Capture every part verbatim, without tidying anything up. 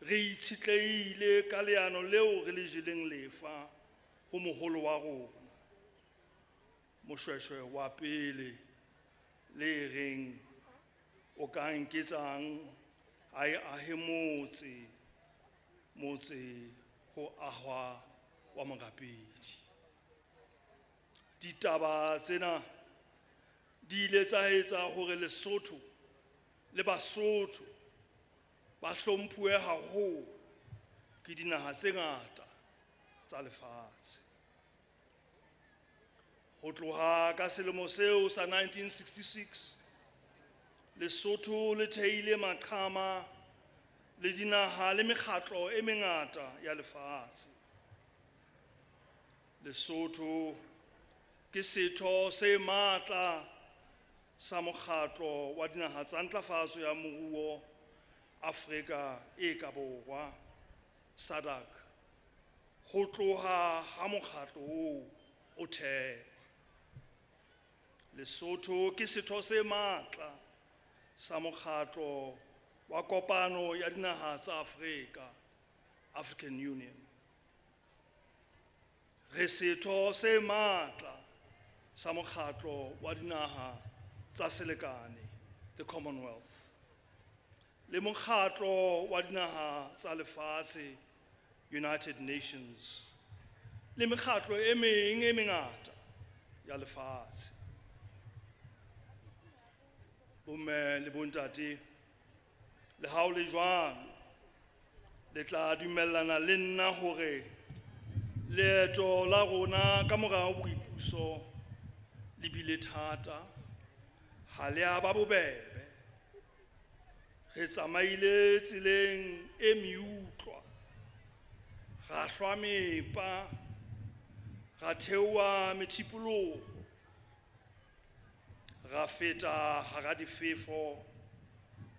Re itshetlehile ka leano leo re le jeleng lefa ho moholo wa rona, Moshoeshoe wa pele, le reng o ka nketsang ha e ahe motse, motse ho ahwa wa morapedi. Ditaba tsena di ile tsa etsa hore Lesotho le Basotho ba hlomphuwe haholo ke dinaha tse ngata tsa lefatshe. Ho tloha ka selemo seo sa nineteen sixty-six, Lesotho le theile maqhama le dinaha le mekgatlo e mengata ya lefatshe. Lesotho ke setho se matla sa mokgatlo wa dinaha tsa ntlafatso ya moruo Afrika e ka borwa, SADC, ho tloha ha mokgatlo oo o thehwa. Lesotho ke setho se matla sa mokgatlo wa kopano ya dinaha tsa Afrika, African Union. Re setho se matla sa mokgatlo wa dinaha tsa selekane, the Commonwealth, le mokgatlo wa dinaha tsa lefatshe, United Nations, le mekgatlo e meng e mengata ya lefatshe. Bomme le bontate, le ha ho le jwalo, le tla dumellana le nna hore leeto la rona ka mora boipuso le bile thata, ha le a ba bobebe. Re tsamaile tseleng e meutlwa, ra hlwa mepa, ra theoha methipoloho, ra feta hara difefo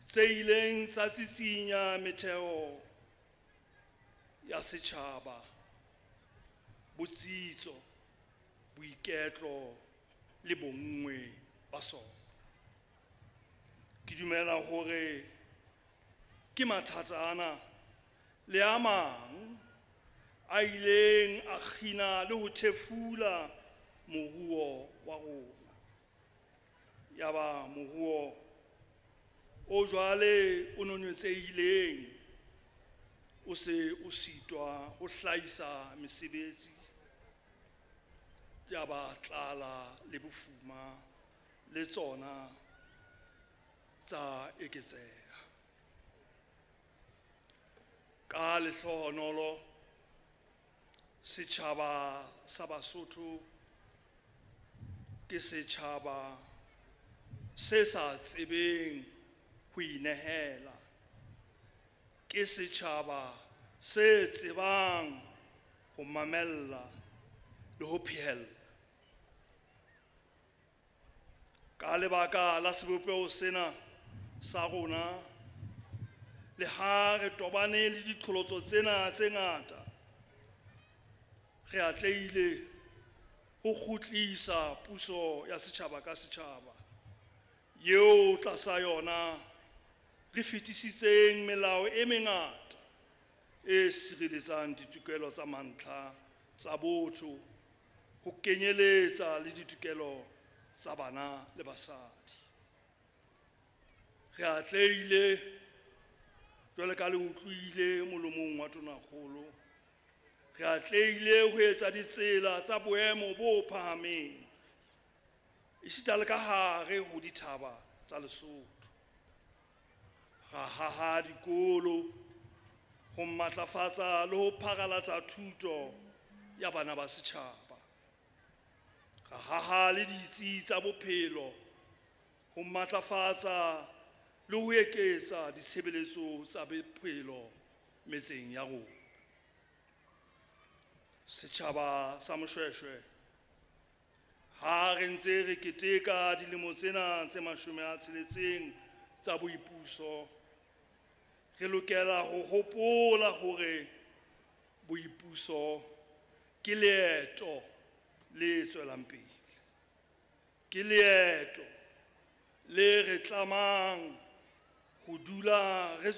tse ileng tsa tsitsinya metheo ya setjhaba, botsitso, boiketlo le bonngwe ba sona. Ke dumela hore ke mathata ana le a mang a ileng a kgina le ho thefula moruo wa rona. Yaba moruo o jwale o nonetsehileng o se o sitwa ho hlahisa mesebetsi, yaba tlala le bofuma le tsona tsa eketseha. Ka lehlohonolo, setjhaba sa Basotho ke setjhaba se sa tsebeng ho inehela, ke setjhaba se tsebang ho mamella le ho phehella. Ka lebaka la sebopeho sena sa rona, le ha re tobane le diqholotso tsena tse ngata, re atlehile ho kgutlisa puso ya setjhaba ka setjhaba eo tlasa yona re fetisitseng melao e mengata e sireletsang ditokelo tsa mantlha tsa botho, ho kenyeletsa le ditokelo tsa bana le basadi. Re atlehile jwale ka le utlwile molomong wa Tonakgolo, re atlehile ho etsa ditsela tsa boemo bo phahameng esita le ka hare ho dithaba tsa Lesotho. Ra haha dikolo ho matlafatsa le ho pharalatsa thuto ya bana ba setjhaba. Ra haha le ditsi tsa bophelo ho matlafatsa le ho eketsa ditshebeletso tsa bophelo metseng ya rona. Setjhaba sa Moshoeshoe, ha re ntse re keteka dilemo tsena tse mashome a tsheletseng tsa boipuso, re lokela ho hopola hore boipuso ke leeto le tswelang pele, ke leeto le re tlamang ho dula re